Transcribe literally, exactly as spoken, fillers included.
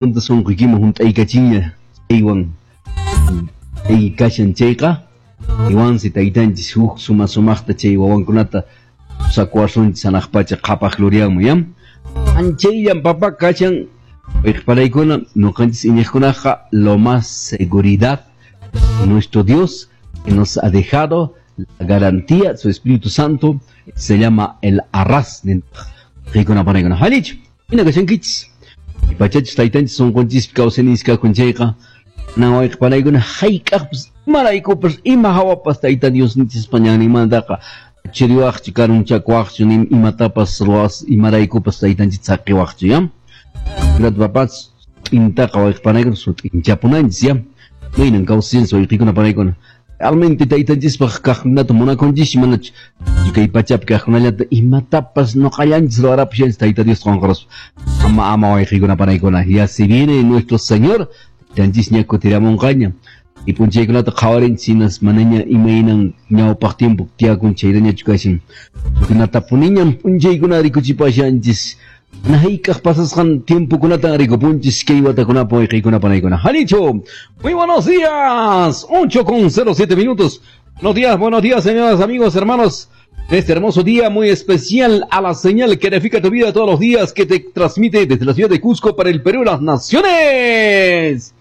Sunquykiman hunt'aykachinña chaywan kashan chayqa iwansi taytanchis huk suma sumaqta chay wawankunata sakuwasunchis hanaq pacha qhapaq glorianman ya anchayllan papa kashan wayqipanaykuna ñuqanchis iñiqkunaqa lo más seguridad nuestro Dios que nos ha dejado la garantía su Espíritu Santo se llama el arras wayqikuna panaykuna allinchu hina kashankichis pachachis taytanchis sunqunchis kawsayninchis kakun chayqa nan wayqipanaykuna hayk'aqpas imaraykupas ima hawapas tayta Diosninchispa ñanninmantaqa chiriwaqchu karunchakuwaqchu ni imatapas ruwas imaraykupas taytanchis saqiwaqchu ya Gracias papas intaqa wayqipanaykuna sut'inchapunanchis ya maynan kawsayninchis wayqikuna panaykuna realmente taytanchispaq kaqkunata munakunchis manachu kay pachapi kaqkunallata imatapas ñuqallanchis ruwarapushanchis tayta Dios qunqaruspa ama ama wayqikuna panaykuna ya si viene nuestro Señor taytanchis ña kutiramunqaña y p'unchaykunata qhawarinchis hinas manaña imaynan ñawpaq tiempo tiyakun chaytañachu kashan kunatapuniñam p'unchaykuna rikuchipashanchis hayk'aq pasasqan tiempokunatan rikupunchis kay watakunapa wayqikuna panaykuna allinchu muy buenos días ocho con cero siete minutos buenos días buenos días señoras amigos hermanos de este hermoso día muy especial a la señal que edifica tu vida todos los días que te transmite desde la ciudad de Cusco para el Perú las naciones